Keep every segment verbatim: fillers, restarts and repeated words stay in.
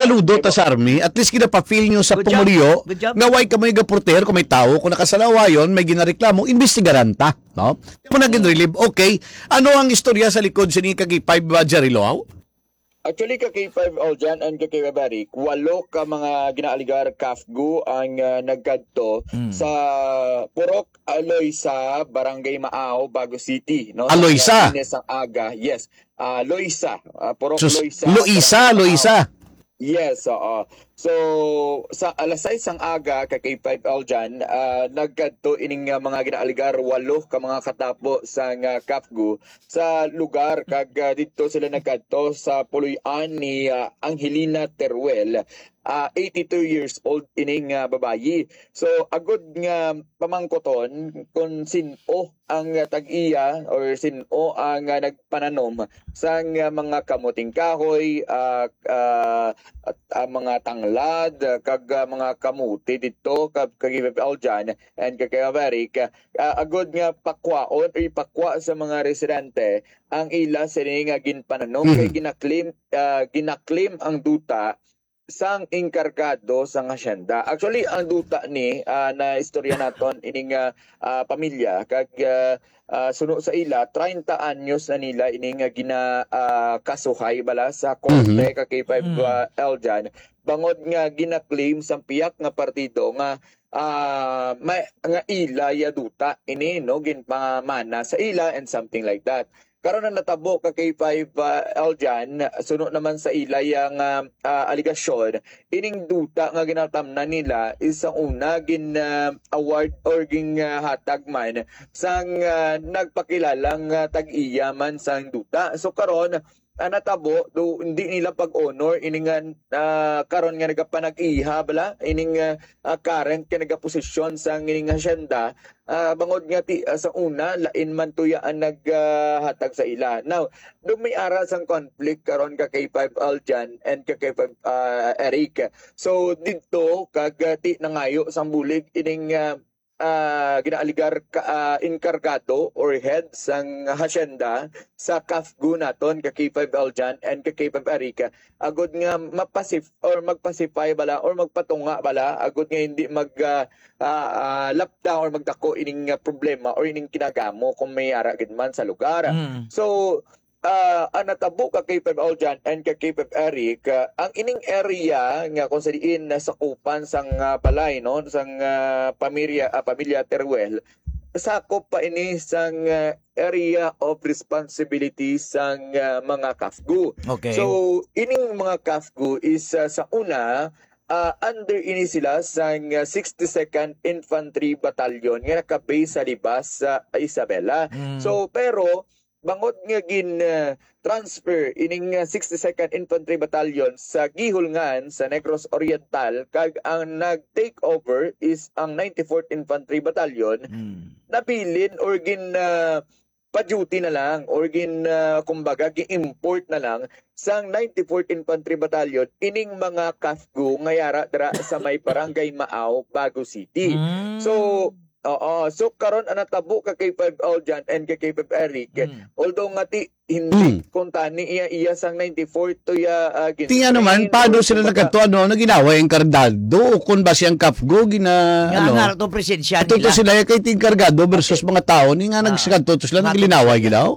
Ludo ta sa army, at least ginapa-feel nyo sa Good job. pumuluyo Good job. nga way ka may gaporteher kung may tao, kung nakasalawayon, may ginareklamo, imbestigaran ta, no? Mo na ginrelieve, okay. Ano ang istorya sa likod sini ka K five, uh, Jerry Loaw? Actually, ka K five Aljan and ka K five Eric, walo ka mga ginaaligar kafgu ang, uh, nagkadto Mm. sa Purok Aloysa, Barangay Maaw, Bago City, no? Sa Aloysa? alas sais sang aga. Yes. Ah, Loisa. Ah, Purok Sus-, Loisa, Loisa, Barangay Maaw. Loisa. Yes, oo. So, sa alas sais sang aga, ka K five Aljan, ah, nagkadto ining, ah, mga ginaaligar, walo ka mga katapo sang, ah, kafgu sa lugar, kag, ah, didto sila nagkadto sa puloy-an ni, ah, Angelina Teruel, ah, eighty-two years old ining, ah, babayi. So, agod nga pamangkoton kung sin-o ang, ah, tag-iya or sin-o ang, ah, nagpananom sang, ah, mga kamuting kahoy, ah, ah, at, ah, mga tanglad, ah, kag, ah, mga kamote didto, kag, kag Aljan and kag Eric, ah, agod nga pakwaon o ipakwa sa mga residente ang ila sini nga ginpananom. Mhm. Kay gina-claim, ah, gina-claim ang duta sang enkargado sang hacienda. Actually, ang duta ni, ah, na istorya naton ining, ah, ah, pamilya kag, ah, ah, suno sa ila, treinta anyos na nila ini nga gina, ah, kasuhay bala sa korte, Mhm. ka K five, Mm. ah, Aljan, bangod nga gina-claim sang pihak nga partido nga, ah, may, nga ila ya duta ini, no, ginpamana sa ila and something like that. Karon ang natabo ka K five, ah, Aljan, suno naman sa ila yang, ah, ah, aligasyon, ining duta nga ginatamnan nila is sa una gin, ah, award or gin, ah, hatag man sang, ah, nagpakilalang, ah, tag-iya man sang duta. So karon, ang natabo, do hindi nila pag-honor ini nga, ah, karon nga nagapanag-iya bala ining, ah, ah, current nga nagaposisyon sang ining hacienda, ah, bangod nga ti, ah, sa una, lain man tuya ang nag, ah, hatag sa ila. Now, do may ara sang conflict karon ka K five Aljan and ka K five, ah, Eric. So, didto, kag, ah, ti nangayo sang bulig ining, ah, ah, ginaaligar ka, ah, enkargado or head sang hacienda sa kafgu naton ka K five Aljan and ka K five Eric. Agod nga mapasif-, or magpasify bala or magpatunga bala, agod nga hindi mag, ah, ah, ah, lapda or magdako ining, ah, problema or ining kinagamo kung may ara gid man sa lugar. Mm. So, ah, ang natabo ka K five Aljan and ka K five Eric, ah, ang ining area nga kung sa diin nasakupan sang, ah, balay, no, sang, ah, pamilya, ah, pamilya Teruel, sakop pa ini sang, ah, area of responsibility sang, ah, mga kafgu. Okay. So, ining mga kafgu is, ah, sa una, ah, under ini sila sang, ah, sixty-second Infantry Battalion nga naka-base sa Libas sa Isabela. Mm. So, pero bangod nga gin, ah, transfer ining, ah, sixty-second Infantry Battalion sa Guihulngan sa Negros Oriental, kag ang nag-take over is ang ninety-fourth Infantry Battalion, Mm. nabilin or gin, ah, pa-duty na lang or gin, ah, kumbaga, gi-import na lang sang ninety-fourth Infantry Battalion ining mga kafgu nga yara dira sa may Barangay Maaw, Bago City. Mm. So, oo. So, karon ang natabo ka K five Aljan and ka K five Eric, Mm. although nga ti, hindi Mm. kung tani iya, iya sang ninety-fourth to ya, ah, Ti ano man, gin-train paano or sila kumbaga nagkadto, ano, ano ginawa ang kardado? O kung ba siyang kafgu, gina-, Nga ano? nga to presensya Ato to nila. sila, kay ting kargado versus Okay. mga tao, ni nga Ah, nagsikadto to sila, nga to naglinaway, sila. ginaw?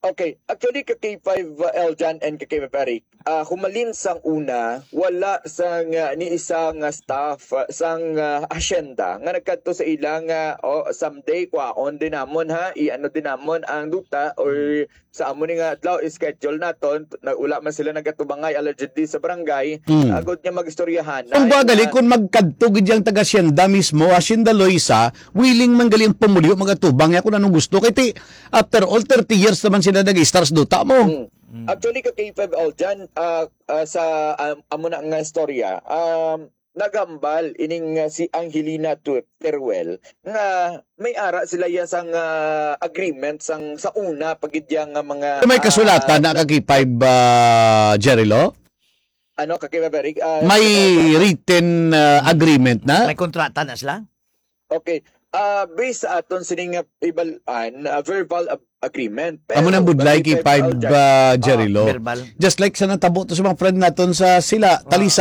Okay, actually, ka K five, uh, Eljan and ka K five Eric, ah, humalin sang una, wala sang, ah, ni isa nga staff, ah, sang, ah, asyenda nga nagkadto sa ila nga, "Oh, someday, kwaon din namon, ha? I-ano din namon ang duta or sa amo ni nga adlaw, schedule naton." Nag-, wala man sila nagatubangay, allegedly, sa barangay. Hmm. Agod nga mag-istoryahan na Kung ba, gali, nga kung magkadto gid yang taga-asyenda mismo, Asyenda Loisa, willing man gali ang pumuluyo, magatubang niya kung anong gusto. Kay ti, after all, thirty years naman sila nag-istar sa duta mo. Mm. Mm. Actually, ka K five Aljan, ah, ah, sa, um, amo na nga istorya, um, nagambal ining, ah, si Angelina Tu-, Teruel nga may ara sila ya sang, ah, agreement sang sa una pa gid ya nga mga, May kasulatan ah, na ka K five, ah, Jerry Lo? Ano, ka K five Eric? Ah, May sa written, ah, agreement na? May kontrata na sila? Okay. Ah, based sa aton sining nga ibal-an, ah, verbal ag-, agreement. Amo nang Pero budlay kay kay five, Aljan, ah, Jerry ah, Lo. Verbal. Just like sa natabo to sa mga friend naton sa sila, Ah. Talisay.